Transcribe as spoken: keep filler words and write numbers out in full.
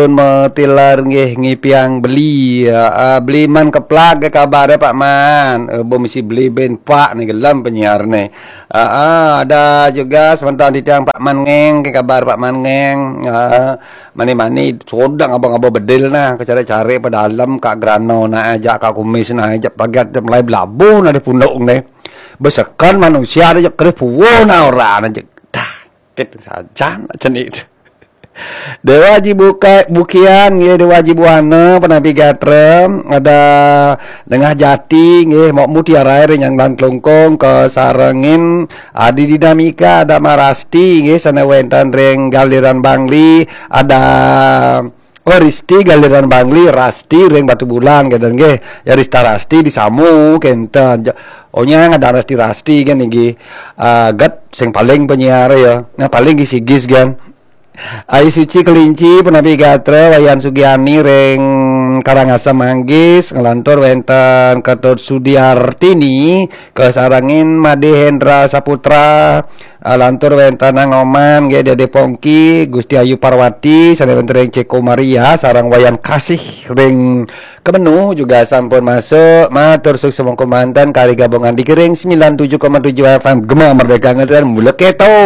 Mutilar nggih ngipiang beli. Ah, ah, beli Man Keplag, kabar Pak Man. Eh, bo mesti beli ben Pak ni gelem penyiar ni. Ah, ah, ada juga sebentar titiang Pak Man Ngeng, ke kabar Pak Man Ngeng. Ah, mani-mani sodang abang-abang bedil nah, ke cari-cari pa dalem, Kak Grano nah ajak, Kak Kumis nah ajak, pagat mulai belabuh nah di punduk ni. Besekan manusia ada je kerih puwo nah orang aja. Dah, kit sajan aja ni. Dewa Haji Buka, Bukian nggih, Dewa Haji Buana, Penabi Gatra, ada Dengah Jati nggih, Mok Mutiara ring Nyanglan Klungkung, kesarengin Adi Dinamika, ada Marasti nggih, sane wenten ring Galiran Bangli, ada, oh, Risti Galiran Bangli, Rasti ring Batu Bulan, gitu nggih. Ya, Rista Rasti disamu kenten. Ja-, oh, nyang ada Rasti-Rasti kan nggih. Ah, get sing paling penyiar ya. Nah, paling nggih sigis kan. Ayu Suci Kelinci, Penabi Gatra, Wayan Sugiani ring Karangasem Manggis, ngelantur wenten Ketut Sudiartini, kesarengin Made Hendra Saputra, ah, lantur wenten Nang Oman, nggih, Dede Pongki, Gusti Ayu Parwati, sane wenten ring Ceko Maria, sareng Wayan Kasih ring Kemenu juga sampun masuk. Matur suksma mangkin manten kari gabungan di Gering sembilan tujuh koma tujuh F M Gema Merdeka Ngetren, mula keto.